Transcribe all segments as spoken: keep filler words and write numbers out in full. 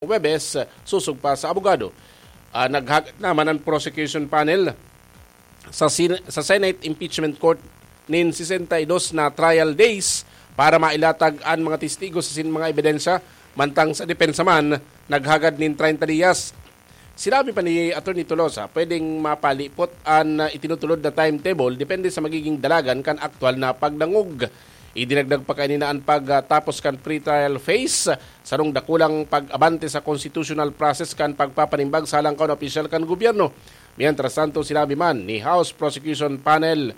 Huwebes, sosog pa sa abogado. Ah, naghagad naman ang prosecution panel sa Sen-, sa Senate Impeachment Court nin sesenta y dos na trial days para mailatag an mga testigo asin mga ebidensya, mantang sa depensa man, naghagad nin treinta diyas. Sinabi pa ni Attorney Tolosa, pwedeng mapalipot an, ah, itinutulod na timetable depende sa magiging dalagan kan aktual na pagdangog. Idinagdag pa kaini na an pagtapos kan pre-trial phase, sarong dakulang pag-abante sa constitutional process kan pagpapanimbag sa halangkaw na opisyal kan gobyerno. Mientras tanto, sinabi man ni House Prosecution Panel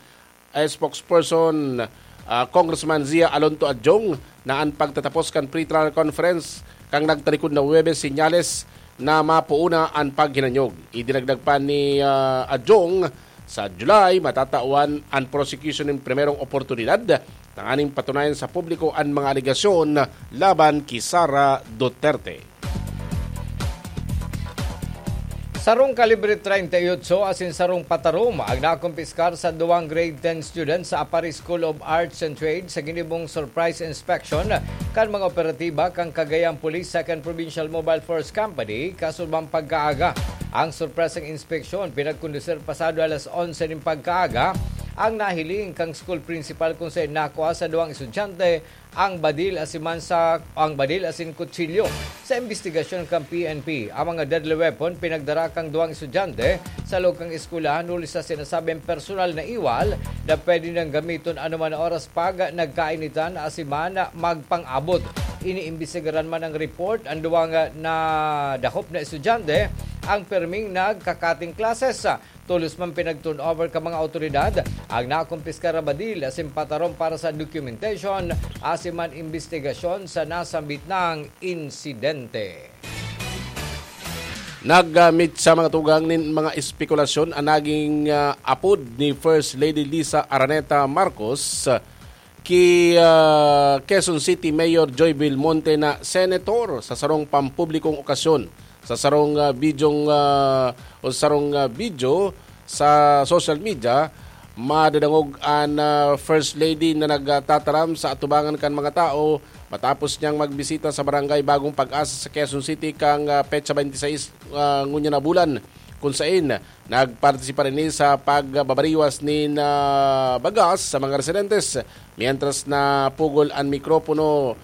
spokesperson, ah, Congressman Zia Alonto Adjong na an pagtatapos kan pre-trial conference kan nagtalikod na Huwebes senyales na mapoon na an paghinanyog. Idinagdag pa ni, ah, Adjong, sa July, matatawan an prosecution nin primerong oportunidad tanganing patunayan sa publiko an mga alegasyon laban ki Sara Duterte. Sarong kalibre treinta y ocho asin sarong patarom ang nakumpiskar sa duwang grade ten students sa Aparri School of Arts and Trade sa ginibong surprise inspection kan mga operatiba kan Cagayan Police Second Provincial Mobile Force Company kasurmang pagkaaga. Ang sorpresang inspeksyon pinagkondusir pasado alas onse nin pagkaaga. Ang nahiling kan school principal kung saen nakua sa duwang estudyante ang badil asin man sa, ang badil asin kutsilyo. Sa imbestigasyon kan P N P, ang mga deadly weapon pinagdara kan duwang estudyante sa loob kan eskwelahan huli sa sinasabing personal na iwal na pwede nang gamiton anoman na oras pag nagkainitan asin man magpang-abot. Iniimbestigaran man ang report, ang duwang nadakop na estudyante ang pirming nagka-cutting classes. Tolos man pinag-turnover kan mga awtoridad ang nakumpiskar na badil asin patarom para sa documentation asin man imbestigasyon sa nasambit na insidente. Nagmit sa mga tugang nin mga espekulasyon ang naging, ah, apod ni First Lady Liza Araneta Marcos, ah, ki, ah, Quezon City Mayor Joy Belmonte na senator sa sarong pampublikong okasyon. Sa sarong, ah, bidyong, ah, o sarong, ah, video sa social media, madadangog an, ah, First Lady na nagtataram sa atubangan kan mga tao matapos niyang magbisita sa Barangay Bagong Pag-asa sa Quezon City kan, ah, petsa twenty-six, ah, ngunyan na bulan, kun sain nagpartisipar ini sa pagbabariwas nin, ah, bagas sa mga residentes, mientras na pugol an mikropono.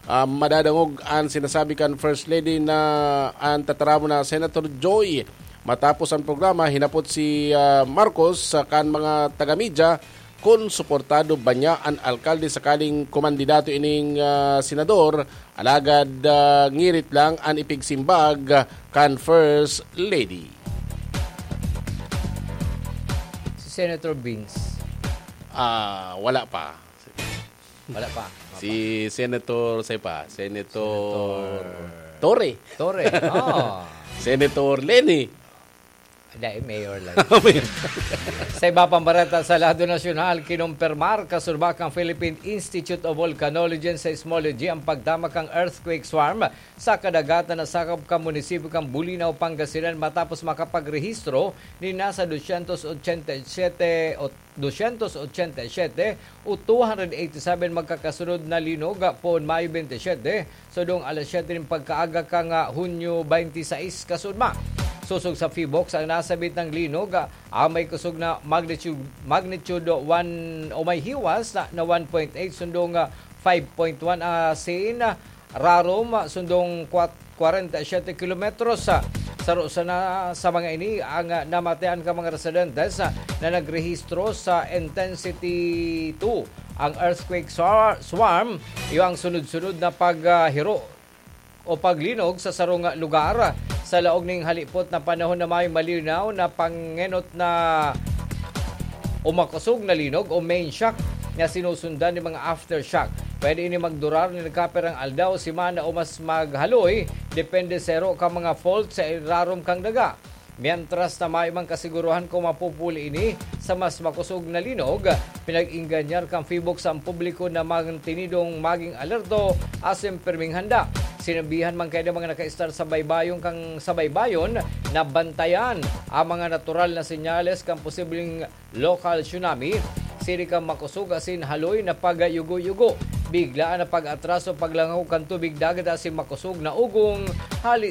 Ah, madadangog an sinasabi kan First Lady na an tataramon na Senator Joy. Matapos ang programa, hinapot si, ah, Marcos, ah, kan mga taga-media kun suportado ba niya an alkalde sakaling kumandidato ining, ah, senador, alagad, ah, ngirit lang an ipigsimbag, ah, kan First Lady. Si Senator Vince. Ah, wala pa. Wala pa. Si Senator, say pa, Senator Senator Torre. Torre. Oh. Senator Leni. Hindi, mayor lang. Sa iba pang bareta sa lado nasyonal, kinumpirmar kasurba kan Philippine Institute of Volcanology and Seismology ang pagtama kan earthquake swarm sa kadagatan na sakop kan munisipyo kan Bulinaw, Pangasinan, matapos makapagrehistro nin nasa dosyentos otsenta y siyete o dosyentos otsenta y siyete o two hundred eighty-seven magkakasunod na linog poon Mayo twenty-seven, sundong alas siyete nin pagkaaga kan, ah, Hunyo twenty-six kasunod. Sosog sa PHIVOLCS, ang nasabit na linog, ah, ang may kusog na magnitude, magnitude one o may hiwas na, na one point eight, sundong, ah, five point one, ah, sin, ah, rarom, ah, sundong kwat-, kwarenta y siyete kilometros. Ah, saro sana sa mga ini ang, ah, namatean kan mga residentes, ah, na nagrehistro sa intensity two, ang earthquake swar-, swarm, iyo ang sunod-sunod na pag, ah, hiro o paglinog sa sarong lugar. Sa laog ning halipot na panahon na may malinaw na pangenot na o makosog na linog o main shock na sinusundan nin mga aftershock. Pwede ini magdurar nin kapirang aldaw, semana o mas maghaloy, depende sa iro kan mga fault sa irarom kan daga. Mientras na mayo mang kasiguruhan kung mapupuli ini sa mas makosog na linog, pinag-ingganyar kan PHIVOLCS ang publiko na mantinidong maging alerto asin pirming handa. Sinabihan man kaya ng mga nakaistar sa baybayon kan, sa baybayon na bantayan ang mga natural na senyales kan posibleng local tsunami, siri kan makosog asin haloy na pagyugo-yugo, biglaan na pag-atras o paglangaw kan tubig dagat asin makosog na ugong hali